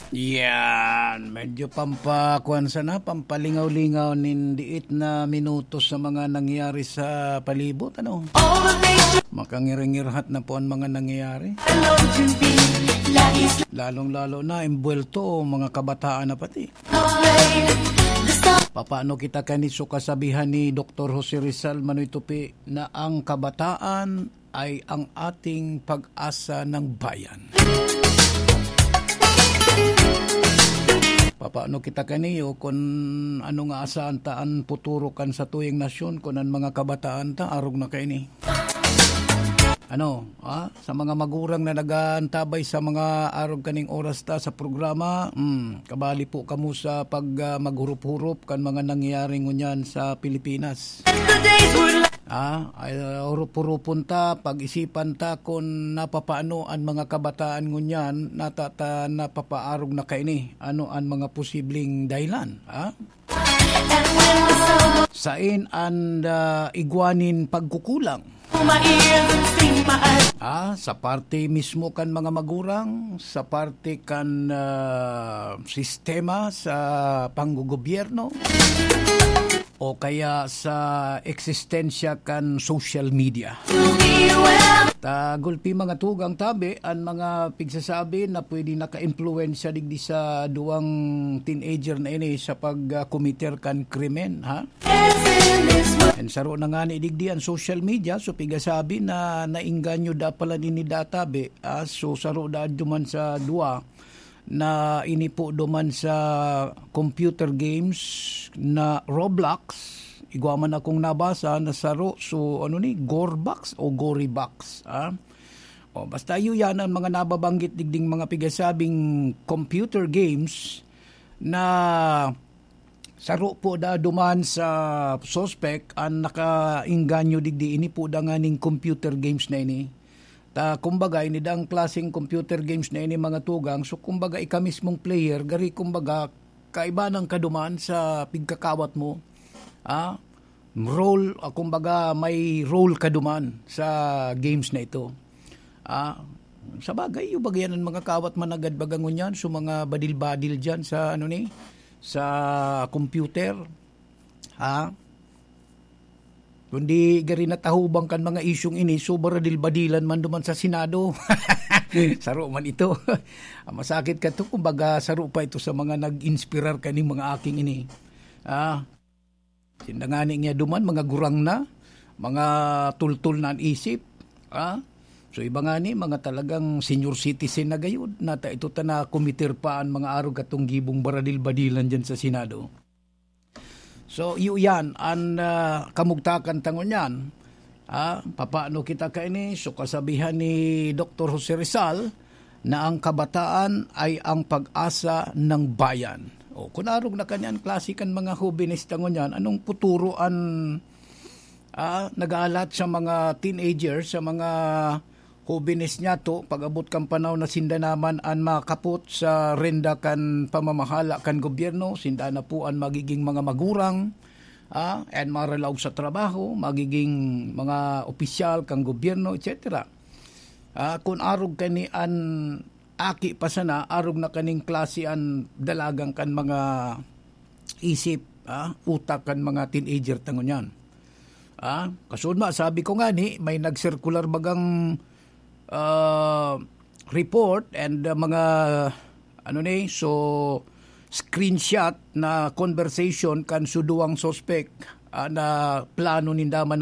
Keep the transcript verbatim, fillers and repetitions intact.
Yan, medyo pampakuan sana, pampalingaw-lingaw nin diit na minuto sa mga nangyari sa palibot, ano? Makangirngirhat na po ang mga nangyayari. Lalong-lalo na, imbuwelto, mga kabataan na pati. Papaano kita kani so kasabihan ni Doktor Jose Rizal Manoy Tupi na ang kabataan ay ang ating pag-asa ng bayan? Papaano kita kaniyo kun ano nga asahan ta an puturo kan satuyang nasyon, kun an mga kabataan ta arog na kaini? Ano, ah, sa mga magurang na nag-aantabay sa mga arog kaning oras ta sa programa, hmm, kabali po kamo sa pag, ah, maghurup-hurup kan mga nangyayari ngunyan sa Pilipinas. Ah, ay, hurup-hurupon ta, pag-isipan ta kun napapaano an mga kabataan ngunyan, natata-, napapaarog na kaini. Ano an mga posibleng dahilan, ah? Sain an, ah, igwa nin pagkukulang? Ah, sa parte mismo kan mga magurang, sa parte kan, ah, sistema sa panggogobyerno, o kaya sa eksistensya kan social media? Ta gulpi mga tugang tabi, an mga pigsasabi na pwede naka-impluwensya digdi sa duwang teenager na ini sa pag, ah, komiter kan krimen, ha? And saro na ngani digdi an social media, so pigasabi na naengganyo da pala nini da tabi, ah, so saro da duman sa duwa na ini po duman sa computer games na Roblox. Igwa man akong nabasa na saro, so ano ni, Gorebox o Gorybox, ah? O, basta iyo yan ang mga nababanggit digding mga pigasabing computer games na saro po da duman sa suspek an nakaengganyo digdi. Ini po da nganing computer games na ini. Ta, kumbaga, ini dang klaseng computer games na ini, mga tugang. So, kumbaga, ika mismong player, gari, kumbaga, kaiba nang kaduman sa pigkakawat mo. Ah, role, ah, kumbaga, may role ka duman sa games na ito. Ah, sa bagay, yung bagay yan, ang mga kawat managad baga ngunyan, so mga badil-badil dyan sa, ano ni, sa computer. Ha? Kundi gari natahubang kan mga isyong ini, so baradil-badilan man duman sa Senado. Saro man ito. Masakit ka to, kumbaga, saro pa ito sa mga nag-inspirar kaning mga aking ini. Ah, sinda ngani niya duman, mga gurang na, mga tultol na an isip. Ah, so iba ngani, mga talagang senior citizen na gayud. Nata ito ta na kumitir pa an mga arog katong gibong baradil-badilan dyan sa Senado. So, iyo yan, an, ah, kamugtakan ta ngunyan. Ah, papaano kita kaini? So, kasabihan ni Doktor Jose Rizal na ang kabataan ay ang pag-asa ng bayan. O, kun arog na kaniyan klase kan mga hobenes ta ngunyan, anong puturo an, ah, nag-aalat sa mga teenager, sa mga hobenes niyato, pag-abot kan panahon na sinda naman an makapot sa renda kan pamamahala kan gobyerno, sinda na po an magiging mga magurang, ah, an maralaog sa trabaho, magiging mga opisyal kan gobyerno, et cetera. Ah, kun arog kani an aki pa sana, arog na kaning klase an dalagan kan mga isip, ah, utak kan mga teenager ta ngunyan. Ah, kasunod ma, sabi ko ngani, may nag-circular bagang, ah, report and, ah, mga, ano ni, so, screenshot na conversation kan suduwang suspek, ah, na plano ninda man